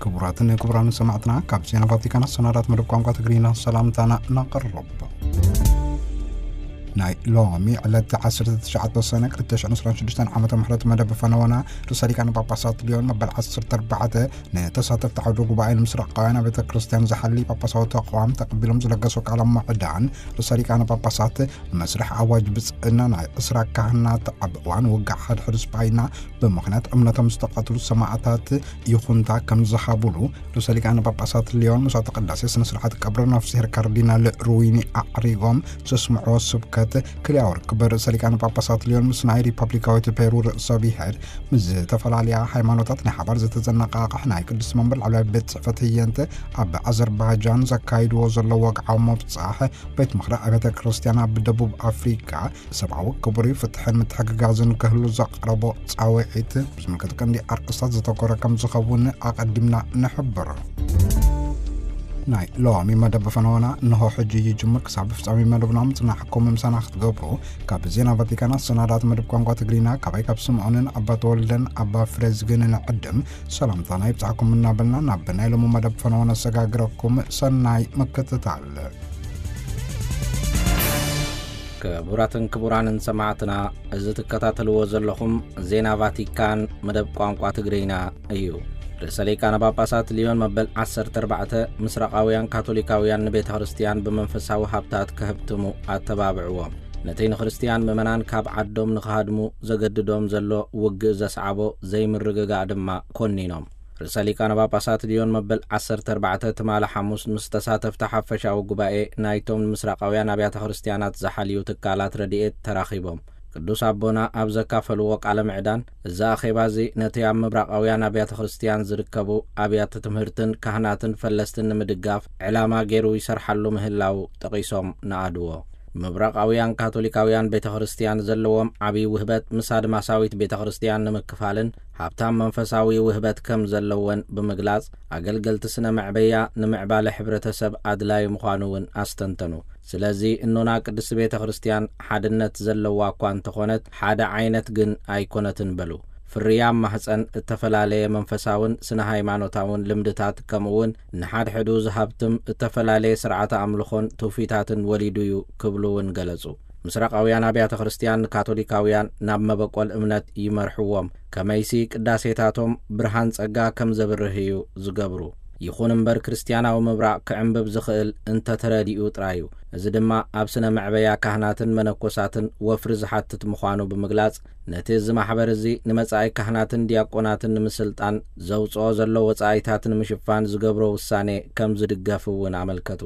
ክቡራትን ክቡራን ሰማዕትና፣ ካብ ዜና ቫቲካን ኣሰናዳት መደብ ቋንቋ ትግርኛ ሰላምታና ነቕርብ። ናይ ሎሚ ዕለት ዓሰርተ ትሽዓተ ሰነ ክልተ ሽሕን ዕስራን ሽዱሽተን ዓመተ ምሕረት መደብ ፈነወና ርእሰ ሊቃነ ጳጳሳት ሊዮን መበል ዓሰርተ ኣርባዕተ ንተሳተፍቲ ዓውደ ጉባኤ ንምስራቃውያን ቤተ ክርስቲያን ዝሓሊ ጳጳሳዊ ተቋም ተቐቢሎም ዝለገሱ ቃለ ምዕዳን ርእሰ ሊቃነ ጳጳሳት መስርሕ ኣዋጅ ብጽእና ናይ ዕስራ ካህናት ኣብ እዋን ውግእ ሓድሕድ ስጳይና ብምኽንያት እምነቶም ዝተቐትሉ ሰማዕታት ይኹንታ ከም ዝሃቡሉ ርእሰ ሊቃነ ጳጳሳት ሊዮን መስዋዕተ ቅዳሴ ስነ ስርዓት ቀብሪ ነፍስሄር ካርዲናል ሩዊኒ ኣዕሪጎም ዘስምዕዎ ስብከት ክልኣዊ ርክብ ርእሰ ሊቃነ ጳጳሳት ሊዮን ምስ ናይ ሪፐብሊካዊት ፔሩ ርእሰ ብሔር ምስ ዝተፈላለያ ሃይማኖታት ናይ ሓባር ዝተዘነቃቕሕ ናይ ቅዱስ መንበር ላዕለዋይ ቤት ጽሕፈት ህየንተ ኣብ ኣዘርባይጃን ዘካይድዎ ዘሎ ወግዓዊ ምብጻሕ ቤት ምኽሪ ኣብያተ ክርስቲያን ኣብ ደቡብ ኣፍሪካ ሰብኣዊ ክቡር ፍትሕን ምትሕግጋዝን ክህሉ ዘቕረቦ ጻውዒት ብዝምልከት ቀንዲ ኣርእስታት ዘተኮረ ከም ዝኸውን ኣቐዲምና ንሕብር። ናይ ሎሚ መደብ ፈነወና እንሆ ሕጂ ይጅምር። ክሳብ ፍጻሜ መደብና ምጽናሕኩም ምሳና ክትገብሩ ካብ ዜና ቫቲካን ኣሰናዳት መደብ ቋንቋ ትግርኛ ካባይ ካብ ስምዖንን ኣባ ተወልደን ኣባ ፍሬዝግን ንዕድም ሰላምታና ይብጻሕኩም እናበልና ናብ ናይ ሎሚ መደብ ፈነወ ነሰጋግረኩም። ሰናይ ምክትታል። ክቡራትን ክቡራንን ሰማዕትና፣ እዚ ትከታተልዎ ዘለኹም ዜና ቫቲካን መደብ ቋንቋ ትግርኛ እዩ። ርእሰ ሊቃነ ጳጳሳት ሊዮን መበል ዓሰርተ ኣርባዕተ ምስራቓውያን ካቶሊካውያን ንቤተ ክርስቲያን ብመንፈሳዊ ሃብታት ከህብትሙ ኣተባብዕዎም። ነቲ ንክርስትያን ምእመናን ካብ ዓዶም ንኽሃድሙ ዘገድዶም ዘሎ ውግእ ዘስዓቦ ዘይምርግጋእ ድማ ኮኒኖም። ርእሰ ሊቃነ ጳጳሳት ሊዮን መበል ዓሰርተ ኣርባዕተ ትማሊ ሓሙስ ምስ ተሳተፍቲ ሓፈሻዊ ጉባኤ ናይቶም ምስራቓውያን ኣብያተ ክርስቲያናት ዝሓልዩ ትካላት ረድኤት ተራኺቦም። ቅዱስ ኣቦና ኣብ ዘካፈልዎ ቃለ ምዕዳን፣ እዚ ኣኼባ እዚ ነቲ ኣብ ምብራቓውያን ኣብያተ ክርስቲያን ዝርከቡ ኣብያተ ትምህርትን ካህናትን ፈለስትን ንምድጋፍ ዕላማ ገይሩ ይሰርሓሉ ምህላው ጠቒሶም ንኣድዎ። ምብራቓውያን ካቶሊካውያን ቤተ ክርስቲያን ዘለዎም ዓብዪ ውህበት ምስ ኣድማሳዊት ቤተ ክርስቲያን ንምክፋልን ሃብታም መንፈሳዊ ውህበት ከም ዘለወን ብምግላጽ፣ ኣገልገልቲ ስነ መዕበያ ንምዕባለ ሕብረተሰብ ኣድላዪ ምዃኑ እውን ኣስተንተኑ። ስለዚ እኖና ቅድስቲ ቤተ ክርስቲያን ሓድነት ዘለዋ እኳ እንተኾነት፣ ሓደ ዓይነት ግን ኣይኮነትን በሉ። ፍርያም ማህፀን እተፈላለየ መንፈሳውን ስነ ሃይማኖታውን ልምድታት፣ ከምኡውን ንሓድሕዱ ዝሃብትም እተፈላለየ ስርዓተ ኣምልኾን ትውፊታትን ወሊዱ እዩ ክብሉ እውን ገለጹ። ምስራቃውያን ኣብያተ ክርስቲያን ንካቶሊካውያን ናብ መበቆል እምነት ይመርሕዎም፣ ከመይሲ ቅዳሴታቶም ብርሃን ጸጋ ከም ዘብርህ እዩ ዝገብሩ። ይኹን እምበር ክርስትያናዊ ምብራቕ ክዕምብብ ዝኽእል እንተተረዲኡ ጥራይ እዩ። እዚ ድማ ኣብ ስነ መዕበያ ካህናትን መነኮሳትን ወፍሪ ዝሓትት ምዃኑ ብምግላጽ፣ ነቲ እዚ ማሕበር እዚ ንመጻኢ ካህናትን ዲያቆናትን ንምስልጣን ዘውጽኦ ዘሎ ወጻኢታት ንምሽፋን ዝገብሮ ውሳኔ ከም ዝድገፍ እውን ኣመልከቱ።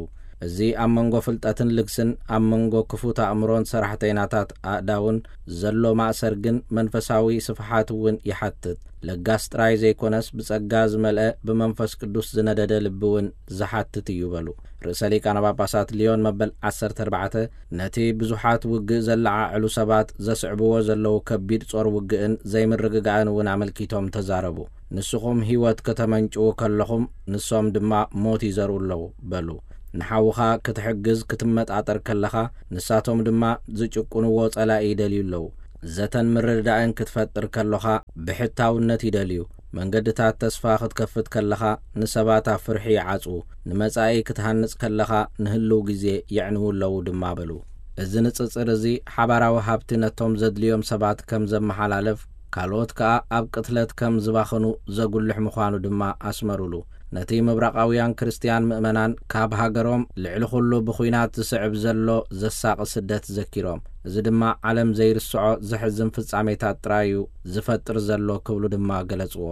እዚ ኣብ መንጎ ፍልጠትን ልግስን፣ ኣብ መንጎ ክፉት ኣእምሮን ሰራሕተይናታት ኣእዳውን ዘሎ ማእሰር ግን መንፈሳዊ ስፍሓት እውን ይሓትት። ለጋስ ጥራይ ዘይኮነስ ብጸጋ ዝመልአ ብመንፈስ ቅዱስ ዝነደደ ልቢ እውን ዝሓትት እዩ በሉ። ርእሰ ሊቃነ ጳጳሳት ሊዮን መበል ዓሰርተ ኣርባዕተ ነቲ ብዙሓት ውግእ ዘለዓዕሉ ሰባት ዘስዕብዎ ዘለዉ ከቢድ ጾር ውግእን ዘይምርግጋእን እውን ኣመልኪቶም ተዛረቡ። ንስኹም ህይወት ከተመንጭዉ ከለኹም፣ ንሶም ድማ ሞት ይዘርኡ ኣለዉ በሉ። ንሓውኻ ክትሕግዝ ክትመጣጠር ከለኻ፣ ንሳቶም ድማ ዝጭቁንዎ ጸላኢ ይደልዩ ኣለዉ። ዘተን ምርድዳእን ክትፈጥር ከለኻ ብሕታውነት ይደልዩ። መንገድታት ተስፋ ክትከፍት ከለኻ ንሰባት ኣብ ፍርሒ ይዓጽዉ። ንመጻኢ ክትሃንጽ ከለኻ ንህልው ግዜ የዕንዉ ኣለዉ ድማ በሉ። እዚ ንጽጽር እዚ ሓባራዊ ሃብቲ ነቶም ዘድልዮም ሰባት ከም ዘመሓላልፍ፣ ካልኦት ከኣ ኣብ ቅትለት ከም ዝባኽኑ ዘጉልሕ ምዃኑ ድማ ኣስመሩሉ። ነቲ ምብራቓውያን ክርስትያን ምእመናን ካብ ሃገሮም ልዕሊ ኩሉ ብኹናት ዝስዕብ ዘሎ ዘሳቒ ስደት ዘኪሮም፣ እዚ ድማ ዓለም ዘይርስዖ ዘሕዝን ፍጻሜታት ጥራይ እዩ ዝፈጥር ዘሎ ክብሉ ድማ ገለጽዎ።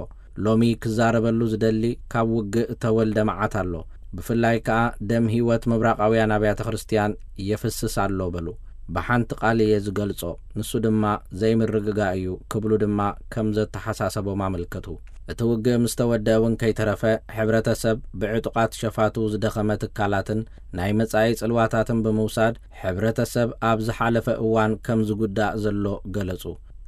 ሎሚ ክዛረበሉ ዝደሊ ካብ ውግእ እተወልደ መዓት ኣሎ። ብፍላይ ከኣ ደም ህይወት ምብራቓውያን ኣብያተ ክርስትያን የፍስስ ኣሎ በሉ። ብሓንቲ ቃል እየ ዝገልጾ፣ ንሱ ድማ ዘይምርግጋእ እዩ ክብሉ ድማ ከም ዘተሓሳሰቦም ኣመልከቱ። እቲ ውግእ ምስ ተወደአ እውን ከይተረፈ፣ ሕብረተሰብ ብዕጡቓት ሸፋቱ ዝደኸመ ትካላትን ናይ መጻኢ ጽልዋታትን ብምውሳድ፣ ሕብረተሰብ ኣብ ዝሓለፈ እዋን ከም ዝጉዳእ ዘሎ ገለጹ።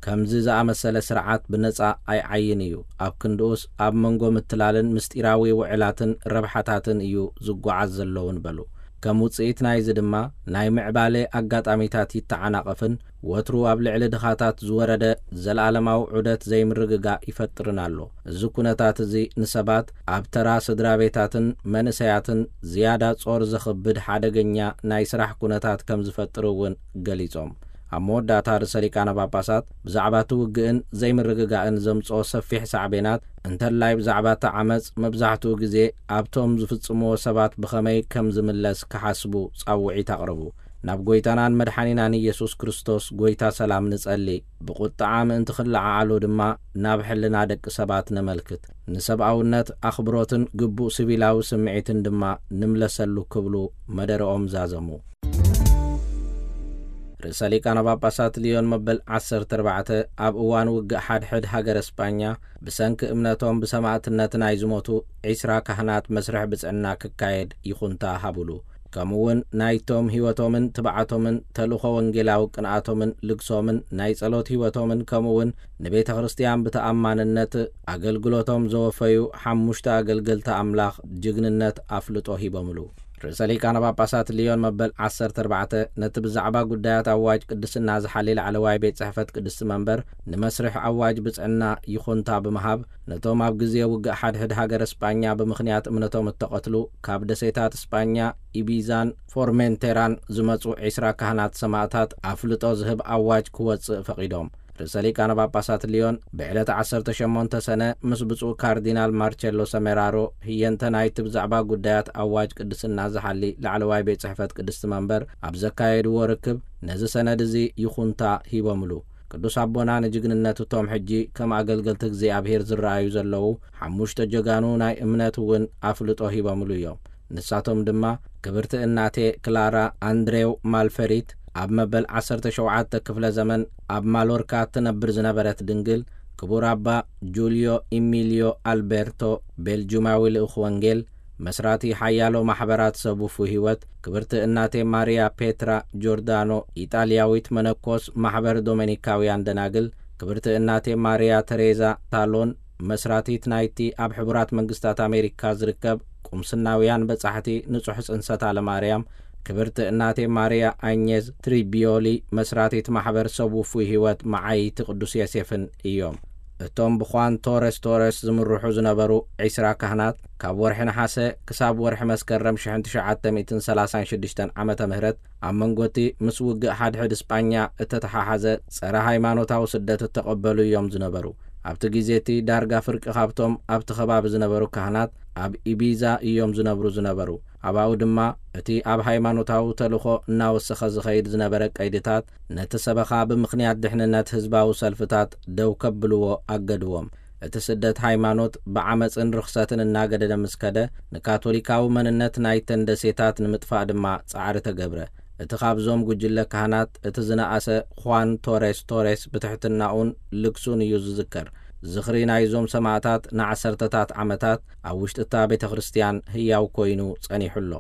ከምዚ ዝኣመሰለ ስርዓት ብነጻ ኣይዓይን እዩ። ኣብ ክንድኡስ ኣብ መንጎ ምትላልን ምስጢራዊ ውዕላትን ረብሓታትን እዩ ዝጓዓዝ ዘለውን በሉ። ከም ውጽኢት ናይዚ ድማ ናይ ምዕባለ ኣጋጣሚታት ይተዓናቐፍን ወትሩ ኣብ ልዕሊ ድኻታት ዝወረደ ዘለኣለማዊ ዑደት ዘይምርግጋእ ይፈጥርን ኣሎ። እዚ ኩነታት እዚ ንሰባት ኣብ ተራ ስድራ ቤታትን መንእሰያትን ዝያዳ ጾር ዘኽብድ ሓደገኛ ናይ ስራሕ ኩነታት ከም ዝፈጥር እውን ገሊጾም። ኣብ መወዳእታ ርእሰ ሊቃነ ጳጳሳት ብዛዕባ እቲ ውግእን ዘይምርግጋእን ዘምጽኦ ሰፊሕ ሳዕቤናት፣ እንተላይ ብዛዕባ እቲ ዓመጽ፣ መብዛሕትኡ ግዜ ኣብቶም ዝፍጽምዎ ሰባት ብኸመይ ከም ዝምለስ ክሓስቡ ጻውዒት ኣቕረቡ። ናብ ጐይታናን መድሓኒናን ኢየሱስ ክርስቶስ፣ ጐይታ ሰላም፣ ንጸሊ። ብቑጥዓ ምእንቲ ክለዓዓሉ ድማ ናብ ሕልና ደቂ ሰባት ነመልክት። ንሰብኣውነት ኣኽብሮትን ግቡእ ሲቪላዊ ስምዒትን ድማ ንምለሰሉ ክብሉ መደረኦም ዛዘሙ። ርእሰ ሊቃነ ጳጳሳት ሊዮን መበል ዓሰርተ ኣርባዕተ ኣብ እዋን ውግእ ሓድሕድ ሃገረ ስጳኛ ብሰንኪ እምነቶም ብሰማእትነት ናይ ዝሞቱ ዒስራ ካህናት መስርሕ ብጽዕና ክካየድ ይኹንታ ሃቡሉ። ከምኡ እውን ናይቶም ህይወቶምን ትብዓቶምን ተልእኾ ወንጌላዊ ቅንኣቶምን ልግሶምን ናይ ጸሎት ህይወቶምን ከምኡ እውን ንቤተ ክርስቲያን ብተኣማንነት ኣገልግሎቶም ዘወፈዩ ሓሙሽተ ኣገልገልቲ ኣምላኽ ጅግንነት ኣፍልጦ ሂቦምሉ። ርእሰ ሊቃነ ጳጳሳት ሊዮን መበል ዓሰርተ ኣርባዕተ ነቲ ብዛዕባ ጉዳያት ኣዋጅ ቅድስና ዝሓሊ ላዕለዋይ ቤት ጽሕፈት ቅድስቲ መንበር ንመስርሕ ኣዋጅ ብጽዕና ይኹንታ ብምሃብ፣ ነቶም ኣብ ግዜ ውግእ ሓድሕድ ሃገረ ስጳኛ ብምኽንያት እምነቶም እተቐትሉ ካብ ደሴታት ስጳኛ ኢቢዛን ፎርሜንቴራን ዝመጹ ዒስራ ካህናት ሰማእታት ኣፍልጦ ዝህብ ኣዋጅ ክወጽእ ፈቒዶም። ርእሰ ሊቃነ ጳጳሳት ሊዮን ብዕለት ዓሰርተ ሸሞንተ ሰነ ምስ ብፁዕ ካርዲናል ማርቸሎ ሰሜራሮ ህየንተ ናይቲ ብዛዕባ ጉዳያት ኣዋጅ ቅድስና ዝሓሊ ላዕለዋይ ቤት ጽሕፈት ቅድስቲ መንበር ኣብ ዘካየድዎ ርክብ ነዚ ሰነድ እዚ ይኹንታ ሂቦምሉ። ቅዱስ ኣቦና ንጅግንነት እቶም ሕጂ ከም ኣገልገልቲ እግዚኣብሔር ዝረኣዩ ዘለዉ ሓሙሽተ ጀጋኑ ናይ እምነት እውን ኣፍልጦ ሂቦምሉ እዮም። ንሳቶም ድማ ክብርቲ እናቴ ክላራ ኣንድሬው ማልፈሪት ኣብ መበል ዓሰርተ ሸውዓተ ክፍለ ዘመን ኣብ ማሎርካ እትነብር ዝነበረት ድንግል፣ ክቡር ኣባ ጁልዮ ኢሚልዮ ኣልቤርቶ ቤልጁማዊ ልኡኽ ወንጌል፣ መስራቲ ሓያሎ ማሕበራት ሰብ ውፉይ ህይወት፣ ክብርቲ እናቴ ማሪያ ፔትራ ጆርዳኖ ኢጣልያዊት መነኮስ ማሕበር ዶሜኒካውያን ደናግል፣ ክብርቲ እናቴ ማሪያ ተሬዛ ታሎን መስራቲት ናይቲ ኣብ ሕቡራት መንግስታት ኣሜሪካ ዝርከብ ቁምስናውያን በጻሕቲ ንጹሕ ጽንሰት ኣለማርያም፣ ክብርቲ እናቴ ማሪያ ኣኘዝ ትሪቢዮሊ መስራቲት ማሕበር ሰብ ውፉይ ህይወት መዓይቲ ቅዱስ ዮሴፍን እዮም። እቶም ብኳን ቶረስ ቶረስ ዝምርሑ ዝነበሩ ዒስራ ካህናት ካብ ወርሒ ነሓሰ ክሳብ ወርሒ መስከረም ሽሕን ትሽዓተ ሚእትን ሰላሳን ሽዱሽተን ዓመተ ምህረት ኣብ መንጎ እቲ ምስ ውግእ ሓድሕድ ስጳኛ እተተሓሓዘ ጸረ ሃይማኖታዊ ስደት እተቐበሉ እዮም ዝነበሩ። ኣብቲ ግዜ እቲ ዳርጋ ፍርቂ ካብቶም ኣብቲ ከባቢ ዝነበሩ ካህናት ኣብ ኢቢዛ እዮም ዝነብሩ ዝነበሩ። ኣብኡ ድማ እቲ ኣብ ሃይማኖታዊ ተልእኾ እናወሰኸ ዝኸይድ ዝነበረ ቀይድታት ነቲ ሰበኻ ብምኽንያት ድሕንነት ህዝባዊ ሰልፍታት ደው ከብልዎ ኣገድዎም። እቲ ስደት ሃይማኖት ብዓመጽን ርኽሰትን እናገደደ ምስ ከደ፣ ንካቶሊካዊ መንነት ናይተን ደሴታት ንምጥፋእ ድማ ጻዕሪ ተገብረ። እቲ ካብዞም ጉጅለ ካህናት እቲ ዝነኣሰ ኳን ቶሬስ ቶሬስ ብትሕትናኡን ልግሱን እዩ ዝዝከር። ዝኽሪ ናይዞም ሰማእታት ንዓሰርተታት ዓመታት ኣብ ውሽጢ እታ ቤተ ክርስቲያን ህያው ኮይኑ ጸኒሑ ኣሎ።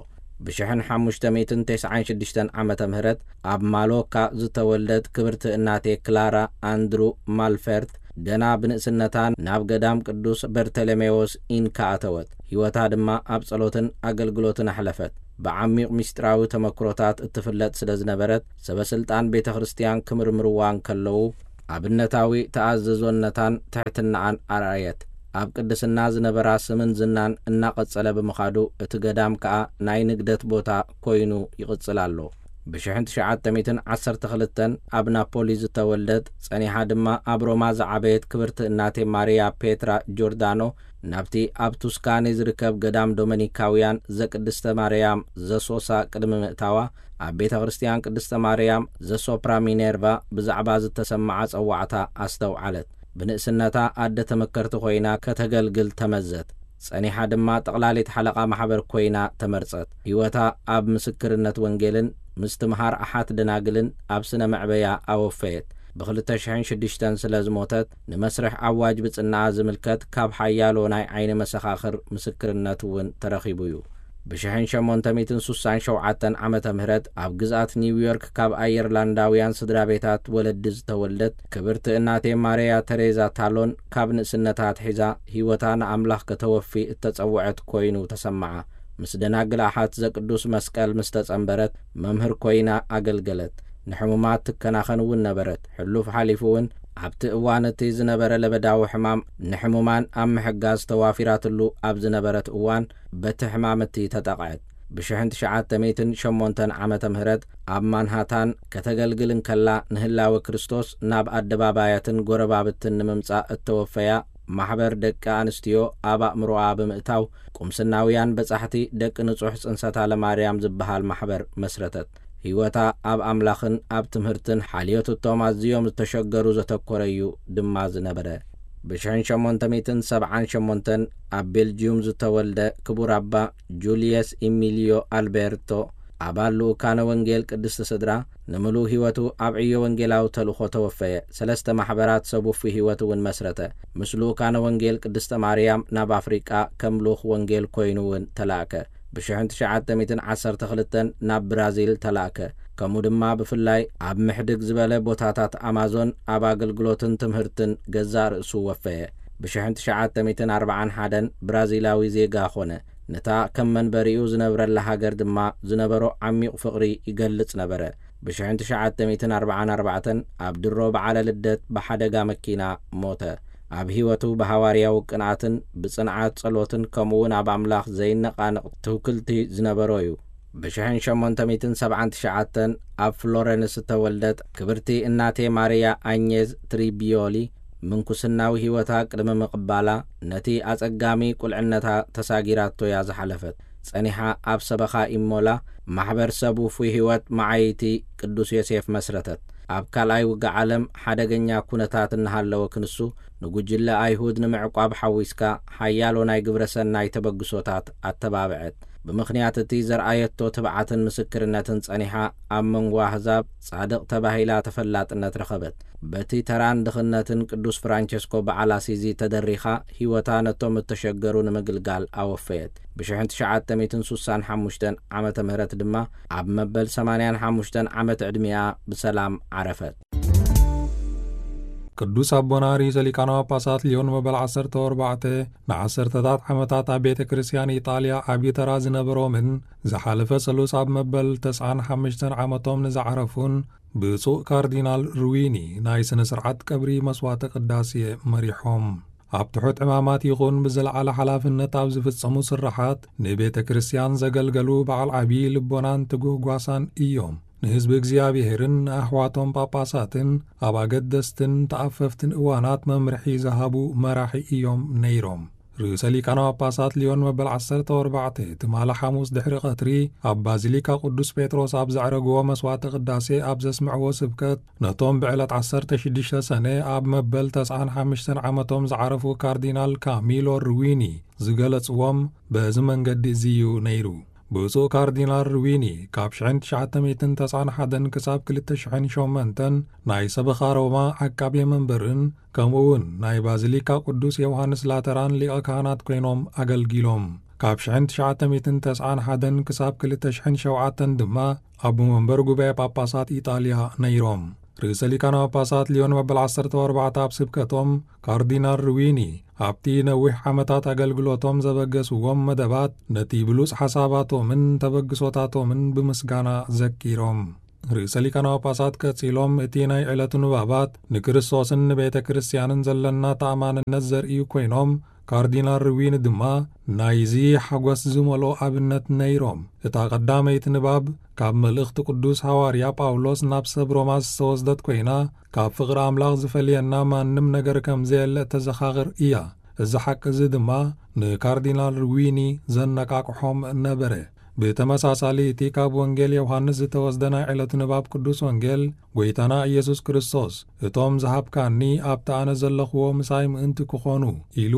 ብሽሕን ሓሙሽተ ሚእትን ተስዓን ሽዱሽተን ዓመተ ምህረት ኣብ ማሎካ ዝተወልደት ክብርቲ እናቴ ክላራ ኣንድሩ ማልፈርት፣ ገና ብንእስነታ ናብ ገዳም ቅዱስ በርተለሜዎስ ኢንካ ኣተወት። ህይወታ ድማ ኣብ ጸሎትን ኣገልግሎትን ኣሕለፈት። ብዓሚቕ ምስጢራዊ ተመክሮታት እትፍለጥ ስለ ዝነበረት፣ ሰበ ስልጣን ቤተ ክርስቲያን ክምርምርዋ እንከለዉ፣ ኣብነታዊ ተኣዘዞነታን ትሕትናኣን ኣርኣየት። ኣብ ቅድስና ዝነበራ ስምን ዝናን እናቐጸለ ብምኻዱ፣ እቲ ገዳም ከኣ ናይ ንግደት ቦታ ኮይኑ ይቕጽል ኣሎ። ብሽሕን ትሽዓተ ሚእትን ዓሰርተ ክልተን ኣብ ናፖሊ ዝተወልደት፣ ጸኒሓ ድማ ኣብ ሮማ ዝዓበየት ክብርቲ እናቴ ማሪያ ፔትራ ጆርዳኖ፣ ናብቲ ኣብ ቱስካኒ ዝርከብ ገዳም ዶመኒካውያን ዘቅድስተ ማርያም ዘሶሳ ቅድሚ ምእታዋ፣ ኣብ ቤተ ክርስቲያን ቅድስተ ማርያም ዘሶፕራ ሚኔርቫ ብዛዕባ ዝተሰምዓ ጸዋዕታ ኣስተውዓለት። ብንእስነታ ኣደ ተመከርቲ ኮይና ከተገልግል ተመዘት። ጸኒሓ ድማ ጠቕላሊት ሓለቓ ማሕበር ኮይና ተመርጸት። ህይወታ ኣብ ምስክርነት ወንጌልን ምስትምሃር ኣሓት ደናግልን ኣብ ስነ መዕበያ ኣወፈየት። ብኽልተ ሽሕን ሽዱሽተን ስለ ዝሞተት፣ ንመስርሕ ኣዋጅ ብጽናኣ ዝምልከት ካብ ሓያሎ ናይ ዓይኒ መሰኻኽር ምስክርነት እውን ተረኺቡ እዩ። ብሽሕን ሸሞንተ ሚእትን ሱሳን ሸውዓተን ዓመተ ምህረት ኣብ ግዝኣት ኒውዮርክ ካብ ኣየርላንዳውያን ስድራ ቤታት ወለዲ ዝተወልደት ክብርቲ እናቴ ማርያ ተሬዛ ታሎን፣ ካብ ንእስነታ ኣትሒዛ ህይወታ ንኣምላኽ ከተወፊ እተጸውዐት ኮይኑ ተሰምዓ። ምስ ደናግል ኣሓት ዘቅዱስ መስቀል ምስ ተጸንበረት፣ መምህር ኮይና ኣገልገለት። ንሕሙማት ትከናኸን እውን ነበረት። ሕሉፍ ሓሊፉ እውን ኣብቲ እዋን እቲ ዝነበረ ለበዳዊ ሕማም ንሕሙማን ኣብ ምሕጋዝ ተዋፊራትሉ ኣብ ዝነበረት እዋን በቲ ሕማም እቲ ተጠቕዐት። ብ1908 ዓመተ ምህረት ኣብ ማንሃታን ከተገልግል እንከላ ንህላወ ክርስቶስ ናብ ኣደባባያትን ጎረባብትን ንምምጻእ እተወፈያ ማሕበር ደቂ ኣንስትዮ ኣብ ኣእምሮኣ ብምእታው ቁምስናውያን በጻሕቲ ደቂ ንጹሕ ጽንሰታ ለማርያም ዝበሃል ማሕበር መስረተት። ህይወታ ኣብ ኣምላኽን ኣብ ትምህርትን ሓልዮት እቶም ኣዝዮም ዝተሸገሩ ዘተኮረ እዩ ድማ ዝነበረ። ብ1878 ኣብ ቤልጅዩም ዝተወልደ ክቡር ኣባ ጁልየስ ኢሚልዮ ኣልቤርቶ፣ ኣባል ልኡካነ ወንጌል ቅድስቲ ስድራ፣ ንምሉእ ህይወቱ ኣብ ዕዮ ወንጌላዊ ተልእኾ ተወፈየ። ሰለስተ ማሕበራት ሰብ ውፉይ ህይወት እውን መስረተ። ምስ ልኡካነ ወንጌል ቅድስተ ማርያም ናብ ኣፍሪቃ ከም ልኡኽ ወንጌል ኮይኑ እውን ተላእከ። ብ1912 ናብ ብራዚል ተላእከ። ከምኡ ድማ ብፍላይ ኣብ ምሕድግ ዝበለ ቦታታት ኣማዞን ኣብ ኣገልግሎትን ትምህርትን ገዛእ ርእሱ ወፈየ። ብ1941 ብራዚላዊ ዜጋ ኾነ። ነታ ከም መንበሪኡ ዝነብረላ ሃገር ድማ ዝነበሮ ዓሚቕ ፍቕሪ ይገልጽ ነበረ። ብ1944 ኣብ ድሮ በዓለ ልደት ብሓደጋ መኪና ሞተ። ኣብ ህይወቱ ብሃዋርያዊ ቅንኣትን ብጽንዓት ጸሎትን ከምኡውን ኣብ ኣምላኽ ዘይነቓነቕ ትውክልቲ ዝነበሮ እዩ። ብ1879 ኣብ ፍሎረንስ እተወልደት ክብርቲ እናቴ ማርያ ኣኘዝ ትሪቢዮሊ፣ ምንኩስናዊ ህይወታ ቅድሚ ምቕባላ ነቲ ኣጸጋሚ ቁልዕነታ ተሳጊራቶ እያ ዝሓለፈት። ጸኒሓ ኣብ ሰበኻ ኢሞላ ማሕበር ሰብ ውፉይ ህይወት መዓይቲ ቅዱስ ዮሴፍ መስረተት። ኣብ ካልኣይ ውግእ ዓለም ሓደገኛ ኩነታት እናሃለወ ክንሱ ንጉጅለ ኣይሁድ ንምዕቋብ ሓዊስካ ሓያሎ ናይ ግብረ ሰናይ ተበግሶታት ኣተባብዐት። ብምኽንያት እቲ ዘርኣየቶ ትብዓትን ምስክርነትን ጸኒሓ ኣብ መንጎ ኣህዛብ ጻድቕ ተባሂላ ተፈላጥነት ረኸበት። በቲ ተራን ድኽነትን ቅዱስ ፍራንቸስኮ በዓል ኣሲዚ ተደሪኻ ህይወታ ነቶም እተሸገሩ ንምግልጋል ኣወፈየት። ብ1965 ዓመተ ምህረት ድማ ኣብ መበል 85 ዓመት ዕድሚኣ ብሰላም ዓረፈት። ቅዱስ ኣቦና ርእሰ ሊቃነ ጳጳሳት ሊዮን መበል 14 ንዓሰርተታት ዓመታት ኣብ ቤተ ክርስቲያን ኢጣልያ ዓብዪ ተራ ዝነበሮምን ዝሓለፈ ሰሉስ ኣብ መበል 95 ዓመቶም ንዝዓረፉን ብፁዕ ካርዲናል ሩዊኒ ናይ ስነ ስርዓት ቀብሪ መስዋዕተ ቅዳሴ መሪሖም። ኣብ ትሑት ዕማማት ይኹን ብዝለዓለ ሓላፍነት ኣብ ዝፍጸሙ ስራሓት ንቤተ ክርስቲያን ዘገልገሉ በዓል ዓብዪ ልቦናን ትጉህ ጓሳን እዮም። ንህዝቢ እግዚኣብሔርን ንኣሕዋቶም ጳጳሳትን ኣብ ኣገደስትን ተኣፈፍትን እዋናት መምርሒ ዝሃቡ መራሒ እዮም ነይሮም። ርእሰ ሊቃነ ጳጳሳት ሊዮን መበል 14 ትማሊ ሓሙስ ድሕሪ ቀትሪ ኣብ ባዚሊካ ቅዱስ ጴጥሮስ ኣብ ዘዕረግዎ መስዋዕተ ቅዳሴ ኣብ ዘስምዕዎ ስብከት ነቶም ብዕለት 16 ሰነ ኣብ መበል 95 ዓመቶም ዝዓረፉ ካርዲናል ካሚሎ ሩዊኒ ዝገለጽዎም በዚ መንገዲ እዚ እዩ ነይሩ። ብፁዕ ካርዲናል ሩዊኒ ካብ 1991 ክሳብ 2008 ናይ ሰበኻ ሮማ ዓቃቤ መንበርን ከምኡ እውን ናይ ባዚሊካ ቅዱስ ዮሃንስ ላተራን ሊቐ ካህናት ኮይኖም ኣገልጊሎም። ካብ 1991 ክሳብ 2007 ድማ ኣቦ መንበር ጉባኤ ጳጳሳት ኢጣልያ ነይሮም። ርእሰ ሊቃነ ጳጳሳት ሊዮን መበል 14 ኣብ ስብከቶም ካርዲናል ሩዊኒ ኣብቲ ነዊሕ ዓመታት ኣገልግሎቶም ዘበገስዎም መደባት ነቲ ብሉጽ ሓሳባቶምን ተበግሶታቶምን ብምስጋና ዘኪሮም። ርእሰ ሊቃነ ጳጳሳት ቀጺሎም እቲ ናይ ዕለቱ ንባባት ንክርስቶስን ንቤተ ክርስቲያንን ዘለና ተኣማንነት ዘርእዩ ኮይኖም፣ ካርዲናል ሩዊኒ ድማ ናይዚ ሓጎስ ዝመልኦ ኣብነት ነይሮም። እታ ቀዳመይቲ ንባብ ካብ መልእኽቲ ቅዱስ ሃዋርያ ጳውሎስ ናብ ሰብ ሮማ ዝተወስደት ኮይና፣ ካብ ፍቕሪ ኣምላኽ ዝፈልየና ማንም ነገር ከም ዘየለ እተዘኻኽር እያ። እዚ ሓቂ እዚ ድማ ንካርዲናል ሩዊኒ ዘነቃቕሖም ነበረ። ብተመሳሳሊ እቲ ካብ ወንጌል ዮሃንስ ዝተወስደ ናይ ዕለቱ ንባብ ቅዱስ ወንጌል፣ ጎይታና ኢየሱስ ክርስቶስ፣ "እቶም ዝሃብካኒ ኣብቲ ኣነ ዘለኽዎ ምሳይ ምእንቲ ክኾኑ" ኢሉ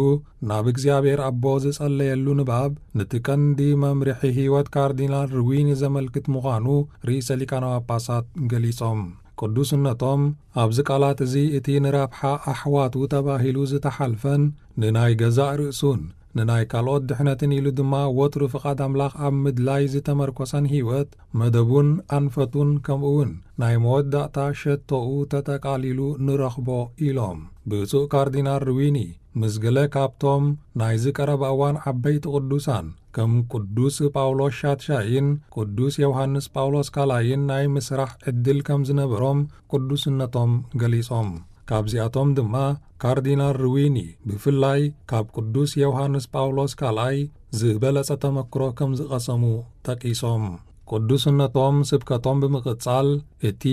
ናብ እግዚኣብሔር ኣቦ ዝጸለየሉ ንባብ፣ ነቲ ቀንዲ መምርሒ ህይወት ካርዲናል ሩዊኒ ዘመልክት ምዃኑ ርእሰ ሊቃነ ጳጳሳት ገሊጾም። ቅዱስነቶም ኣብዚ ቃላት እዚ እቲ ንረብሓ ኣሕዋቱ ተባሂሉ ዝተሓልፈን ንናይ ገዛእ ርእሱን ንናይ ካልኦት ድሕነትን ኢሉ ድማ ወትሩ ፍቓድ ኣምላኽ ኣብ ምድላይ ዝተመርኮሰን ህይወት፣ መደቡን ኣንፈቱን ከምኡ እውን ናይ መወዳእታ ሸቶኡ ተጠቓሊሉ ንረኽቦ ኢሎም። ብፁዕ ካርዲናል ሩዊኒ ምስ ገለ ካብቶም ናይዚ ቀረባ እዋን ዓበይቲ ቅዱሳን ከም ቅዱስ ጳውሎስ ሻትሻይን ቅዱስ ዮሃንስ ጳውሎስ ካልኣይን ናይ ምስራሕ ዕድል ከም ዝነበሮም ቅዱስነቶም ገሊጾም። ካብዚኣቶም ድማ ካርዲናል ርዊኒ ብፍላይ ካብ ቅዱስ ዮሃንስ ጳውሎስ ካልኣይ ዝበለጸ ተመክሮ ከም ዝቐሰሙ ጠቂሶም። ቅዱስነቶም ስብከቶም ብምቕጻል፣ እቲ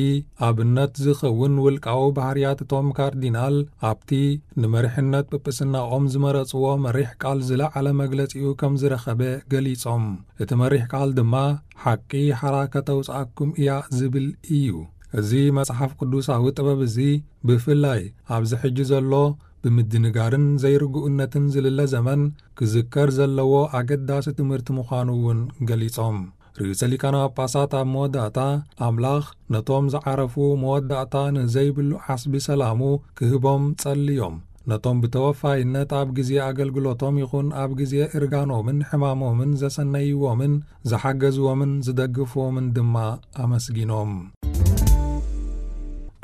ኣብነት ዝኸውን ውልቃዊ ባህርያት እቶም ካርዲናል ኣብቲ ንመሪሕነት ጵጵስናኦም ዝመረጽዎ መሪሕ ቃል ዝለዓለ መግለጺኡ ከም ዝረኸበ ገሊጾም። እቲ መሪሕ ቃል ድማ ሓቂ ሓራ ከተውጽኣኩም እያ ዝብል እዩ። እዚ መጽሓፍ ቅዱሳዊ ጥበብ እዚ ብፍላይ ኣብዚ ሕጂ ዘሎ ብምድንጋርን ዘይርግኡነትን ዝልለ ዘመን ክዝከር ዘለዎ ኣገዳሲ ትምህርቲ ምዃኑ እውን ገሊጾም። ርእሰ ሊቃነ ጳጳሳት ኣብ መወዳእታ ኣምላኽ ነቶም ዝዓረፉ መወዳእታ ንዘይብሉ ዓስቢ ሰላሙ ክህቦም ጸልዮም። ነቶም ብተወፋይነት ኣብ ግዜ ኣገልግሎቶም ይኹን ኣብ ግዜ እርጋኖምን ሕማሞምን ዘሰነይዎምን ዝሓገዝዎምን ዝደግፍዎምን ድማ ኣመስጊኖም።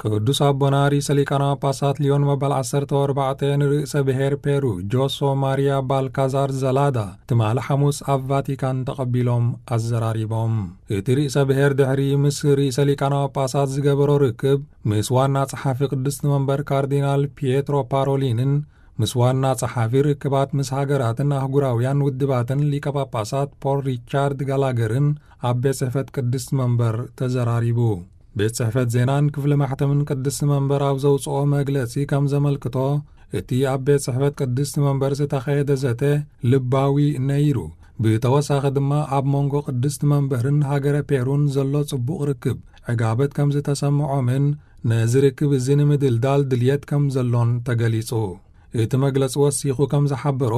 ቅዱስ ኣቦና ርእሰ ሊቃነ ጳጳሳት ሊዮን መበል ዓሰርተ ኣርባዕተ ንርእሰ ብሔር ፔሩ ጆሶ ማሪያ ባልካዛር ዘላዳ ትማሊ ሓሙስ ኣብ ቫቲካን ተቐቢሎም ኣዘራሪቦም። እቲ ርእሰ ብሔር ድሕሪ ምስ ርእሰ ሊቃነ ጳጳሳት ዝገበሮ ርክብ፣ ምስ ዋና ጸሓፊ ቅድስቲ መንበር ካርዲናል ፒየትሮ ፓሮሊንን ምስ ዋና ጸሓፊ ርክባት ምስ ሃገራትን ኣህጉራውያን ውድባትን ሊቀ ጳጳሳት ፖል ሪቻርድ ጋላገርን ኣብ ቤት ጽሕፈት ቅድስቲ መንበር ተዘራሪቡ። ቤት ጽሕፈት ዜናን ክፍሊ ማሕተምን ቅድስቲ መንበር ኣብ ዘውጽኦ መግለጺ ከም ዘመልክቶ፣ እቲ ኣብ ቤት ጽሕፈት ቅድስቲ መንበር ዝተኻየደ ዘተ ልባዊ ነይሩ። ብተወሳኺ ድማ ኣብ መንጎ ቅድስቲ መንበርን ሃገረ ፔሩን ዘሎ ጽቡቕ ርክብ ዕጋበት ከም ዝተሰምዖምን ነዚ ርክብ እዚ ንምድልዳል ድልየት ከም ዘሎን ተገሊጹ። እቲ መግለጺ ወሲኹ ከም ዝሓበሮ፣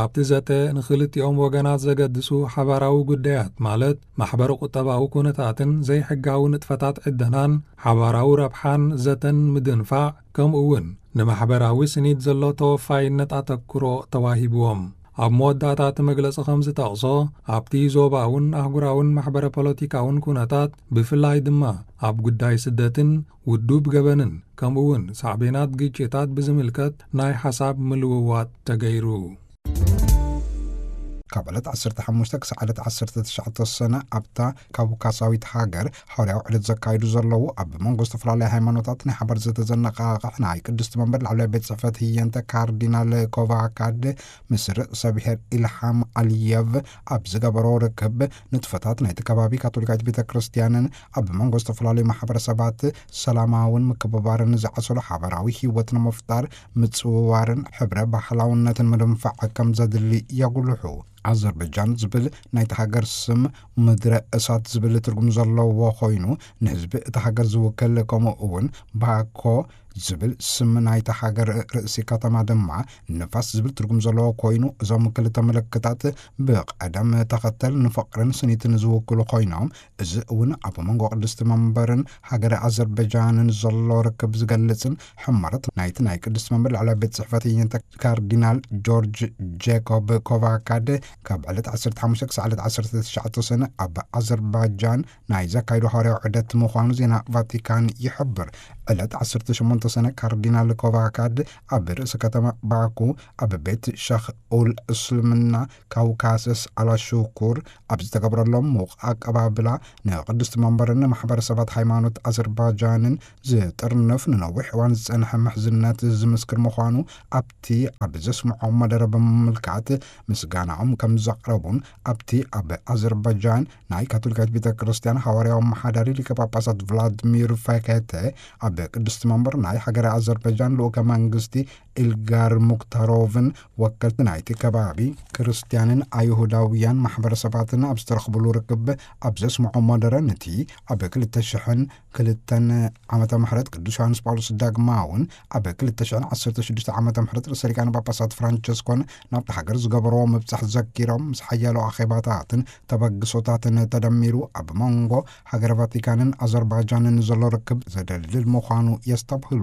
ኣብቲ ዘተ ንኽልቲኦም ወገናት ዘገድሱ ሓባራዊ ጉዳያት፣ ማለት ማሕበረ ቁጠባዊ ኩነታትን ዘይሕጋዊ ንጥፈታት ዕደናን ሓባራዊ ረብሓን ዘተን ምድንፋዕ፣ ከምኡ እውን ንማሕበራዊ ስኒት ዘሎ ተወፋይነት ኣተኩሮ ተዋሂብዎም። ኣብ መወዳእታ እቲ መግለጺ ከም ዝጠቕሶ፣ ኣብቲ ዞባውን ኣህጉራውን ማሕበረ ፖለቲካውን ኩነታት፣ ብፍላይ ድማ ኣብ ጉዳይ ስደትን ውዱብ ገበንን፣ ከምኡ እውን ሳዕቤናት ግጭታት ብዝምልከት ናይ ሓሳብ ምልውዋጥ ተገይሩ። ካብ ዕለት ዓሰርተ ሓሙሽተ ክሳዕ ዕለት ዓሰርተ ትሽዓተ ሰነ ኣብታ ካውካሳዊት ሃገር ሓዋርያዊ ዕለት ዘካይዱ ዘለዉ ኣብ መንጎ ዝተፈላለዩ ሃይማኖታት ናይ ሓባር ዘተዘነቓቕሕ ናይ ቅድስቲ መንበር ላዕለዋይ ቤት ጽሕፈት ህየንተ ካርዲናል ኮቫካድ ምስ ርእሰ ብሔር ኢልሃም ኣልየቭ ኣብ ዝገበሮ ርክብ ንጥፈታት ናይቲ ከባቢ ካቶሊካዊት ቤተ ክርስቲያንን ኣብ መንጎ ዝተፈላለዩ ማሕበረሰባት ሰላማውን ምክብባርን ዝዓሰሎ ሓባራዊ ህይወት ንምፍጣር ምጽውዋርን ሕብረ ባህላውነትን ምድንፋዕ ከም ዘድሊ የጉልሑ። ኣዘርበጃን ዝብል ናይቲ ሃገር ስም ምድረ እሳት ዝብል ትርጉም ዘለዎ ኮይኑ ንህዝቢ እታ ሃገር ዝውክል ከምኡ እውን ባኮ ዝብል ስም ናይታ ሃገር ርእሲ ከተማ ድማ ንፋስ ዝብል ትርጉም ዘለዎ ኮይኑ እዞም ክልተ ምልክታት ብቐደም ተኸተል ንፍቕርን ስኒትን ዝውክሉ ኮይኖም እዚ እውን ኣብ መንጎ ቅድስቲ መንበርን ሃገረ ኣዘርበጃንን ዘሎ ርክብ ዝገልጽን ሕማረት ናይቲ ናይ ቅድስቲ መንበር ላዕለዋይ ቤት ጽሕፈት የንተ ካርዲናል ጆርጅ ጄኮብ ኮቫካድ ካብ ዕለት ዓሰርተ ሓሙሽተ ክሳዕ ዕለት ዓሰርተ ትሽዓተ ሰነ ኣብ ኣዘርባጃን ናይ ዘካይዶ ሃዋርያዊ ዑደት ምዃኑ ዜና ቫቲካን ይሕብር። ዕለት ዓሰርተ ሸሞንተ ሰነ ካርዲናል ኮቫካድ ኣብ ርእሲ ከተማ ባኩ ኣብ ቤት ሸኽ ኡል እስልምና ካውካሰስ ኣላሹኩር ኣብ ዝተገብረሎም ሙቕ ኣቀባብላ ንቅድስቲ መንበርን ማሕበረሰባት ሃይማኖት ኣዘርባጃንን ዝጥርንፍ ንነዊሕ እዋን ዝጸንሐ ምሕዝነት ዝምስክር ምዃኑ ኣብቲ ኣብ ዘስምዖ መደረ ብምምልካት ምስጋናኦም ከም ዘቕረቡን ኣብቲ ኣብ ኣዘርባጃን ናይ ካቶሊካዊት ቤተ ክርስቲያን ሃዋርያዊ ኣመሓዳሪ ሊቀ ጳጳሳት ቭላድሚር ፈከተ ኣብ ቅድስቲ መንበር ናይ ሃገረ ኣዘርባጃን ልኡከ መንግስቲ ኢልጋር ሙክታሮቭን ወከልቲ ናይቲ ከባቢ ክርስትያንን ኣይሁዳውያን ማሕበረሰባትን ኣብ ዝተረኽብሉ ርክብ ኣብ ዘስምዖ መደረ ነቲ ኣብ ክልተ ሽሕን ክልተን ዓመተ ምሕረት ቅዱስ ዮሃንስ ጳውሎስ ዳግማውን ኣብ ክልተ ሽሕን ዓሰርተ ሽዱሽተ ዓመተ ምሕረት ርእሰ ሊቃነ ጳጳሳት ፍራንቸስኮን ናብቲ ሃገር ዝገበርዎ ምብጻሕ ዘኪሮም ምስ ሓያሎ ኣኼባታትን ተበግሶታትን ተደሚሩ ኣብ መንጎ ሃገረ ቫቲካንን ኣዘርባጃንን ዘሎ ርክብ ዘደልድል ምዃኑ የስተብህሉ።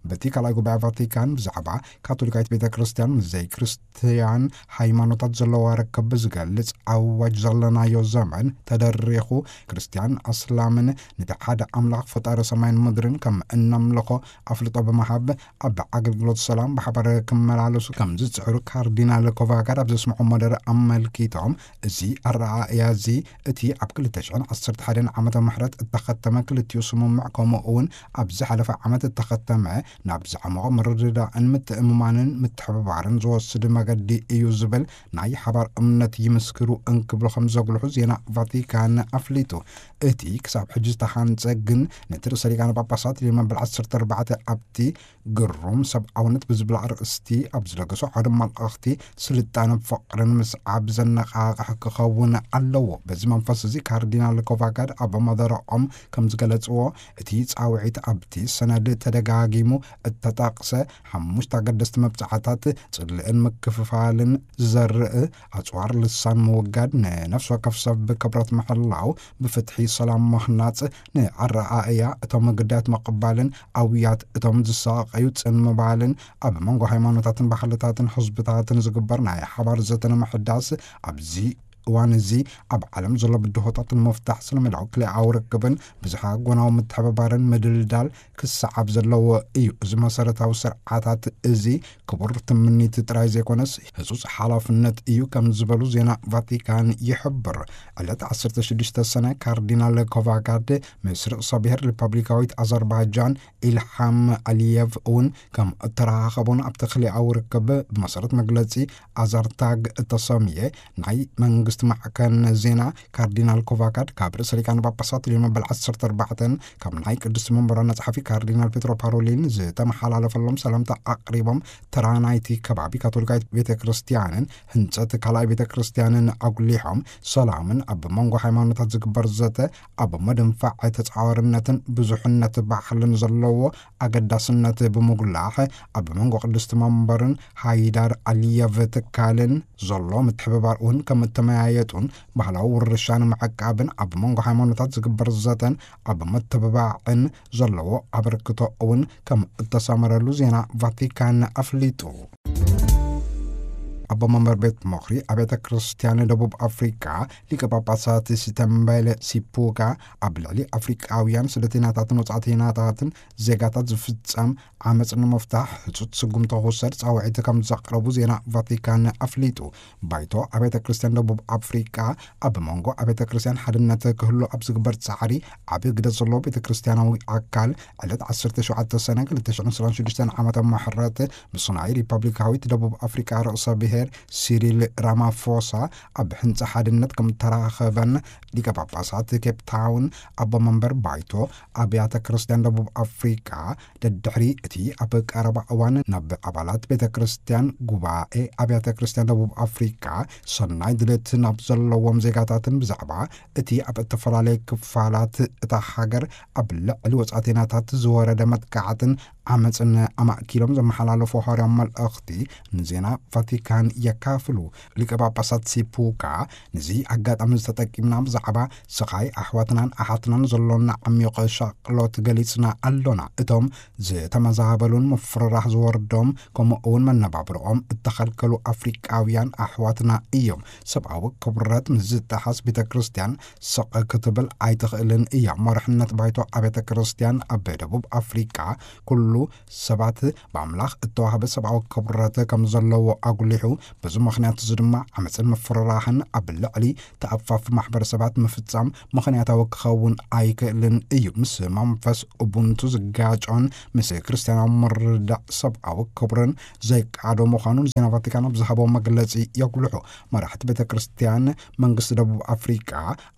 በቲ ካልኣይ ጉባኤ ቫቲካን ብዛዕባ ካቶሊካዊት ቤተ ክርስቲያን ምስ ዘይክርስትያን ሃይማኖታት ዘለዋ ርክብ ዝገልጽ ኣዋጅ ዘለናዮ ዘመን ተደሪኹ፣ ክርስትያን ኣስላምን ነቲ ሓደ ኣምላኽ ፈጣሪ ሰማይን ምድርን ከም እነምልኾ ኣፍልጦ ብምሃብ፣ ኣብ ኣገልግሎት ሰላም ብሓባር ክመላለሱ ከም ዝጽዕሩ ካርዲናል ኮቫጋድ ኣብ ዘስምዖ መደረ ኣመልኪቶም፣ እዚ ኣረኣእያ እዚ እቲ ኣብ ክልተ ሽሕን ዓሰርተ ሓደን ዓመተ ምሕረት እተኸተመ ክልቲኡ ስምምዕ፣ ከምኡ እውን ኣብ ዝሓለፈ ዓመት እተኸተመ ናብ ዝዓመቐ ምርድዳእን ምትእምማንን ምትሕብባርን ዝወስድ መገዲ እዩ ዝብል ናይ ሓባር እምነት ይምስክሩ እንክብሉ ከም ዘጉልሑ ዜና ቫቲካን ኣፍሊጡ። እቲ ክሳብ ሕጂ ዝተሃንጸ ግን ነቲ ርእሰ ሊቃነ ጳጳሳት ሊዮ መበል ዓሰርተ ኣርባዕተ ኣብቲ ግሩም ሰብኣውነት ብዝብል ኣርእስቲ ኣብ ዝለገሶ ሓደ መልእኽቲ፣ ስልጣነ ፍቕርን ምስዓብ ዘነቓቕሕ ክኸውን ኣለዎ። በዚ መንፈስ እዚ ካርዲናል ኮቫጋድ ኣብ መደረኦም ከም ዝገለጽዎ፣ እቲ ጻውዒት ኣብቲ ሰነድ ተደጋጊሙ እተጠቕሰ ሓሙሽተ ኣገደስቲ መብጽዓታት፣ ጽልእን ምክፍፋልን ዝዘርእ፣ ኣጽዋር ልሳን ምውጋድ፣ ንነፍሲ ወከፍ ሰብ ክብረት ምሕላው፣ ብፍትሒ ሰላም ምህናጽ፣ ንኣረኣእያ እቶም ግዳያት ምቕባልን ኣውያት እቶም ዝሳቐዩ ጽን ምባልን፣ ኣብ መንጎ ሃይማኖታትን ባህልታትን ህዝብታትን ዝግበር ናይ ሓባር ዘተ ንምሕዳስ፣ ኣብዚ እዋን እዚ ኣብ ዓለም ዘሎ ብድሆታት ንምፍታሕ፣ ስነ-ሜላዊ ክልኣዊ ርክብን ብዝሓ ጎናዊ ምትሕብባርን ምድልዳል ክሰዓብ ዘለዎ እዩ። እዚ መሰረታዊ ስርዓታት እዚ ክቡር ትምኒት ጥራይ ዘይኮነስ፣ ህጹጽ ሓላፍነት እዩ ከም ዝበሉ ዜና ቫቲካን ይሕብር። ዕለት ዓሰርተ ሽዱሽተ ሰነ፣ ካርዲናል ኮቫጋድ ምስ ርእሰ ብሔር ሪፐብሊካዊት ኣዘርባይጃን ኢልሃም ኣሊየቭ እውን ከም እተራኸቡን፣ ኣብቲ ክልኣዊ ርክብ ብመሰረት መግለጺ ኣዛርታግ እተሰምየ ናይ መንግስቲ ማዕከን ዜና፣ ካርዲናል ኮቫጋድ ካብ ርእሰ ሊቃነ ጳጳሳት ሊዮን መበል ዓሰርተ ኣርባዕተን ካብ ናይ ቅድስቲ መንበር ዋና ጸሓፊ ካርዲናል ፔትሮ ፓሮሊን ዝተመሓላለፈሎም ሰላምታ ኣቕሪቦም፣ ተራ ናይቲ ከባቢ ካቶሊካዊት ቤተ ክርስቲያንን ህንጸት ካልኣይ ቤተ ክርስቲያንን ኣጉሊሖም፣ ሰላምን ኣብ መንጎ ሃይማኖታት ዝግበር ዘተ ኣብ ምድንፋዕ ተጻዋርነትን ብዙሕነት ባህልን ዘለዎ ኣገዳስነት ብምጉላሕ፣ ኣብ መንጎ ቅድስቲ መንበርን ሃይዳር ኣሊየቭ ትካልን ዘሎ ምትሕብባር እውን ከም እተመያየጡን፣ ባህላዊ ውርሻ ንምዕቃብን ኣብ መንጎ ሃይማኖታት ዝግበር ዘተን ኣብ ምትብባዕን ዘለዎ ኣበርክቶ እውን ከም እተሰመረሉ ዜና ቫቲካን ኣፍሊጡ። ኣቦ መንበር ቤት ምኽሪ ኣብያተ ክርስቲያን ደቡብ ኣፍሪቃ ሊቀ ጳጳሳት ሲተምበለ ሲፑጋ፣ ኣብ ልዕሊ ኣፍሪቃውያን ስደተኛታትን ወጻእተኛታትን ዜጋታት ዝፍጸም ዓመጽ ንምፍታሕ ህጹጽ ስጉምቲ ክውሰድ ጻውዒት ከም ዘቕረቡ ዜና ቫቲካን ኣፍሊጡ። ባይቶ ኣብያተ ክርስቲያን ደቡብ ኣፍሪቃ፣ ኣብ መንጎ ኣብያተ ክርስቲያን ሓድነት ክህሉ ኣብ ዝግበር ጻዕሪ ዓቢ ግደ ዘለዎ ቤተ ክርስቲያናዊ ኣካል፣ ዕለት ዓሰርተ ሸውዓተ ሰነ ክልተ ሽሕን ዕስራን ሽዱሽተን ዓመተ ምሕረት ምስ ናይ ሪፐብሊካዊት ደቡብ ኣፍሪቃ ርእሰ ብሔር ሲሪል ራማፎሳ ኣብ ሕንጻ ሓድነት ከም ተራኸበን፣ ሊቀ ጳጳሳት ኬፕ ታውን ኣቦ መንበር ባይቶ ኣብያተ ክርስቲያን ደቡብ ኣፍሪቃ፣ ደድሕሪ እቲ ኣብ ቀረባ እዋን ናብ ኣባላት ቤተ ክርስቲያን ጉባኤ ኣብያተ ክርስቲያን ደቡብ ኣፍሪቃ ሰናይ ድሌት ናብ ዘለዎም ዜጋታትን ብዛዕባ እቲ ኣብ እተፈላለየ ክፋላት እታ ሃገር ኣብ ልዕሊ ወጻእተኛታት ዝወረደ መጥቃዕትን ዓመጽን ኣማእኪሎም ዘመሓላለፎ ሃዋርያዊ መልእኽቲ ንዜና ቫቲካን የካፍሉ። ሊቀ ጳጳሳት ሲፑካ፣ ነዚ ኣጋጣሚ ዝተጠቂምና ብዛዕባ ስቓይ ኣሕዋትናን ኣሓትናን ዘሎና ዓሚቕ ሻቕሎት ገሊጽና ኣሎና። እቶም ዝተመዛበሉን ምፍርራሕ ዝወርዶም፣ ከምኡ እውን መነባብሮኦም እተኸልከሉ ኣፍሪቃውያን ኣሕዋትና እዮም። ሰብኣዊ ክብረት ምስ ዝጠሓስ፣ ቤተ ክርስቲያን ስቕ ክትብል ኣይትኽእልን እያ። መርሕነት ባይቶ ኣብያተ ክርስቲያን ኣብ ደቡብ ኣፍሪቃ፣ ኩሉ ሰባት ብኣምላኽ እተዋህበ ሰብኣዊ ክብረት ከም ዘለዎ ኣጉሊሑ፣ በዚ ምኽንያት እዚ ድማ ዓመፅን ምፍርራህን ኣብ ልዕሊ ተኣፋፊ ማሕበረሰባት ምፍጻም ምኽንያታዊ ክኸውን ኣይክእልን እዩ። ምስ መንፈስ ኡቡንቱ ዝጋጮን ምስ ክርስትያናዊ ምርዳእ ሰብኣዊ ክብርን ዘይቃዶ ምዃኑ ንዜና ቫቲካን ኣብ ዝሃቦ መግለጺ የጉልሑ። መራሕቲ ቤተ ክርስቲያን መንግስቲ ደቡብ ኣፍሪቃ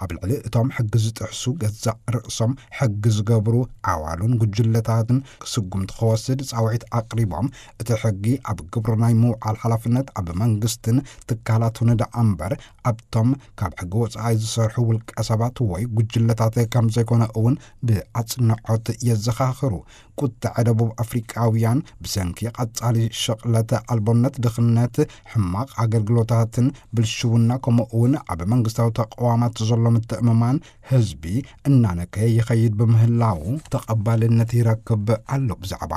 ኣብ ልዕሊ እቶም ሕጊ ዝጥሕሱ ገዛእ ርእሶም ሕጊ ዝገብሩ ኣዋሉን ጉጅለታትን ስጉምቲ ክወስድ ጻውዒት ኣቕሪቦም፣ እቲ ሕጊ ኣብ ግብሪ ናይ ምውዓል ሓላፍነት ኣብ መንግስትን ትካላቱን ደኣ እምበር ኣብቶም ካብ ሕጊ ወጻኢ ዝሰርሑ ውልቀ ሰባት ወይ ጉጅለታት ከም ዘይኮነ እውን ብኣጽንዖት የዘኻኽሩ። ቁጥዐ ደቡብ ኣፍሪቃውያን ብሰንኪ ቀጻሊ ሽቕለት ኣልቦነት፣ ድኽነት፣ ሕማቕ ኣገልግሎታትን ብልሽውና፣ ከምኡ እውን ኣብ መንግስታዊ ተቕዋማት ዘሎ ምትእምማን ህዝቢ እናነከየ ይኸይድ ብምህላዉ ተቐባልነት ይረክብ ኣሎ። ብዛዕባ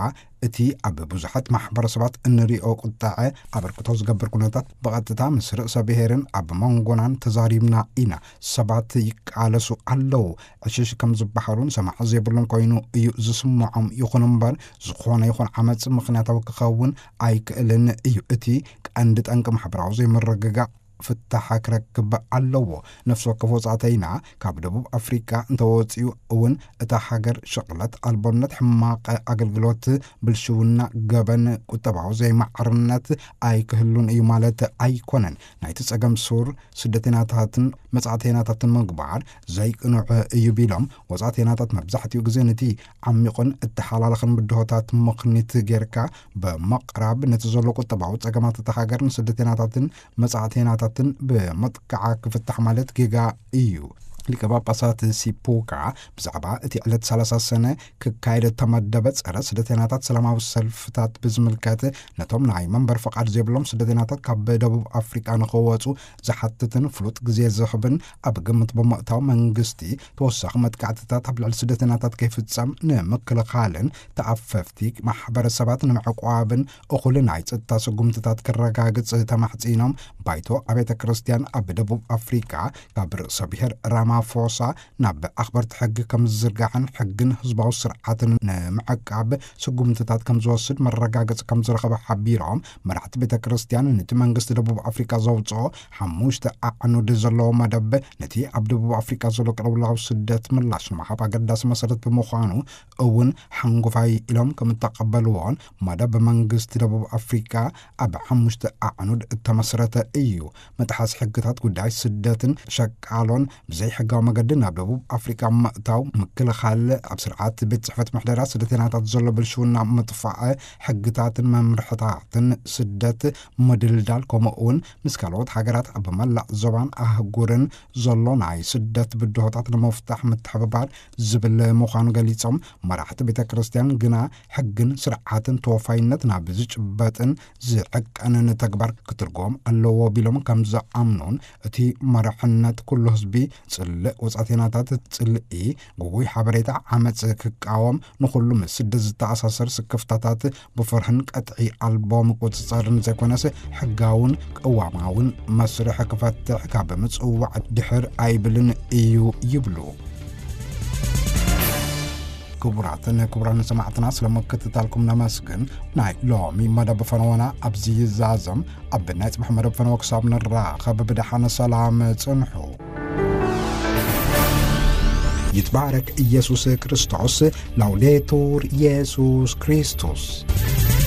እቲ ኣብ ብዙሓት ማሕበረሰባት እንሪኦ ቁጥዐ ኣበርክቶ ዝገብር ኩነታት ብቐጥታ ምስ ርእሰ ብሔርን ኣብ መንጎናን ተዛሪብና ኢና። ሰባት ይቃለሱ ኣለዉ። ዕሽሽ ከም ዝበሃሉን ሰማዒ ዘይብሉን ኮይኑ እዩ ዝስምዖም። ይኹን እምበር፣ ዝኾነ ይኹን ዓመጽ ምኽንያታዊ ክኸውን ኣይክእልን እዩ። እቲ ቀንዲ ጠንቂ ማሕበራዊ ዘይምርግጋእ ፍታሕ ክረክብ ኣለዎ። ነፍሲ ወከፍ ወጻእተይና ካብ ደቡብ ኣፍሪቃ እንተወጺኡ እውን፣ እታ ሃገር ሽቕለት ኣልቦነት፣ ሕማቕ ኣገልግሎት፣ ብልሽውና፣ ገበን፣ ቁጠባዊ ዘይማዕርነት ኣይክህሉን እዩ ማለት ኣይኮነን። ናይቲ ጸገም ሱር ስደተኛታትን መጻእተኛታትን ምግባር ዘይቅኑዕ እዩ ቢሎም፣ ወጻእተኛታት መብዛሕትኡ ግዜ ነቲ ዓሚቑን እተሓላለኸን ብድሆታት ምኽኒት ጌርካ ብምቕራብ፣ ነቲ ዘሎ ቁጠባዊ ጸገማት እታ ሃገር ንስደተኛታትን መጻእተኛታትን ብምጥቃዓ ክፍታሕ ማለት ጌጋ እዩ። ሊቀ ጳጳሳት ሲፖካ ብዛዕባ እቲ ዕለት ሰላሳ ሰነ ክካየድ እተመደበ ጸረ ስደተኛታት ሰላማዊ ሰልፍታት ብዝምልከት፣ ነቶም ናይ መንበር ፈቓድ ዘይብሎም ስደተኛታት ካብ ደቡብ ኣፍሪቃ ንኽወጹ ዝሓትትን ፍሉጥ ግዜ ዝህብን ኣብ ግምት ብምእታው፣ መንግስቲ ተወሳኺ መጥቃዕትታት ኣብ ልዕሊ ስደተኛታት ከይፍጸም ንምክልኻልን ተኣፈፍቲ ማሕበረሰባት ንምዕቋብን እኹል ናይ ጸጥታ ስጉምትታት ክረጋግጽ ተማሕጺኖም። ባይቶ ኣብያተ ክርስቲያን ኣብ ደቡብ ኣፍሪቃ ካብ ርእሰ ብሔር ራማፎሳ ናብ ኣኽበርቲ ሕጊ ከም ዝዝርጋሕን ሕግን ህዝባዊ ስርዓትን ንምዕቃብ ስጉምትታት ከም ዝወስድ መረጋገጺ ከም ዝረኸበ ሓቢሮም፣ መራሕቲ ቤተ ክርስቲያን ነቲ መንግስቲ ደቡብ ኣፍሪቃ ዘውጽኦ ሓሙሽተ ኣዕኑድ ዘለዎ መደብ፣ ነቲ ኣብ ደቡብ ኣፍሪቃ ዘሎ ቅልውላው ስደት ምላሽ ንምሃብ ኣገዳሲ መሰረት ብምዃኑ እውን ሓንጎፋይ ኢሎም ከም እተቐበልዎን፣ መደብ መንግስቲ ደቡብ ኣፍሪቃ ኣብ ሓሙሽተ ኣዕኑድ እተመስረተ እዩ። ምጥሓስ ሕግታት ጉዳይ ስደትን ሸቃሎን ብዘይሕጋዊ መገዲ ናብ ደቡብ ኣፍሪቃ ምእታው፣ ምክልኻል፣ ኣብ ስርዓት ቤት ጽሕፈት ምሕደራ ስደተኛታት ዘሎ ብልሽውና ምጥፋእ፣ ሕግታትን መምርሕታትን ስደት ምድልዳል፣ ከምኡ እውን ምስ ካልኦት ሃገራት ኣብ መላእ ዞባን ኣህጉርን ዘሎ ናይ ስደት ብድሆታት ንምፍታሕ ምትሕብባር ዝብል ምዃኑ ገሊጾም፣ መራሕቲ ቤተ ክርስቲያን ግና ሕግን ስርዓትን ተወፋይነት ናብ ዝጭበጥን ዝዕቀንን ተግባር ክትርጎም ኣለዎ ቢሎም ከም ዝኣምኑን፣ እቲ መራሕነት ኩሉ ህዝቢ ጽልእ ወጻእተኛታት ጽልኢ፣ ግጉይ ሓበሬታ፣ ዓመጽ ክቃወም፣ ንኹሉ ምስ ስደት ዝተኣሳሰር ስክፍታታት ብፍርህን ቀጥዒ ኣልቦ ምቁጽጻርን ዘይኮነስ፣ ሕጋውን ቅዋማውን መስርሕ ክፈትሕ ካብ ምጽዋዕ ድሕር ኣይብልን እዩ ይብሉ። ክቡራትን ክቡራን ሰማዕትና፣ ስለ ምክትታልኩም ነመስግን። ናይ ሎሚ መደብ ፈነወና ኣብዚ ይዛዘም። ኣብ ናይ ጽባሕ መደብ ፈነወ ክሳብ ንራኸብ፣ ብደሓን ሰላም ጽንሑ። ይትባረክ ኢየሱስ ክርስቶስ። ላውዴቱር ኢየሱስ ክርስቶስ።